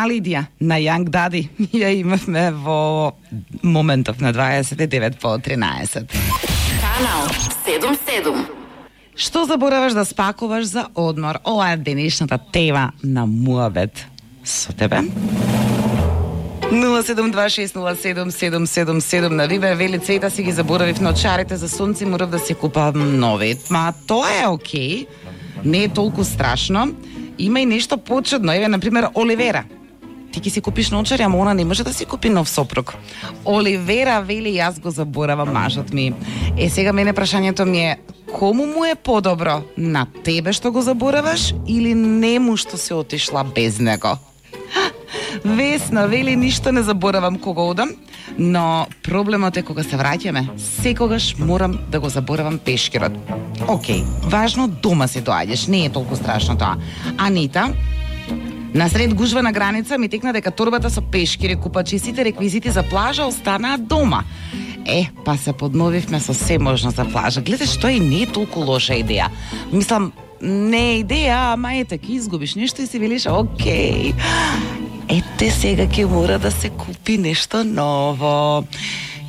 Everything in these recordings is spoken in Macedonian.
Лидија на Young Daddy ја имавме во моментов на 29 по 13. Канал 77. Што забораваш да спакуваш за одмор? Ова е денешната тема на муабет со тебе. 072607777 на Вибер вели Цвета си ги заборавив на очарите за сонце, морав да се купам нови. Ма тоа е окей, не е толку страшно. Има и нешто почудно, еве например Оливера. Ти ќе си купиш наочари, ама она не може да си купи нов сопруг. Оливера вели јас го заборавам мажот ми. Сега мене прашањето ми е, кому му е подобро? На тебе што го забораваш или нему што се отишла без него? Весна вели ништо не заборавам кога одам, но проблемот е кога се враќаме. Секогаш морам да го заборавам пешкирот. Океј, важно дома се доаѓаш, не е толку страшно тоа. Анита, насред гужва на граница ми текна дека торбата со пешкири, купачи и сите реквизити за плажа останаа дома. Па се подновивме со се можно за плажа. Гледаш, тоа и не е толку лоша идеја. Мислам, не е идеја, ама ете, ке изгубиш нешто и си велиш, окей. Ете сега ќе мора да се купи нешто ново.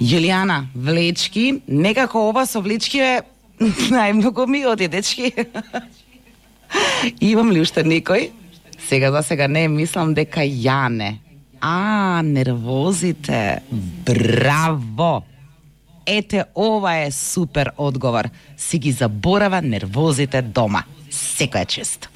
Јулијана, влечки, некако ова со влечки е најмногу ми оди, дечки. Имам ли уште некој? За сега не, мислам дека Јане. Нервозите. Браво! Ете, ова е супер одговор. Си ги заборава нервозите дома. Секој е чест.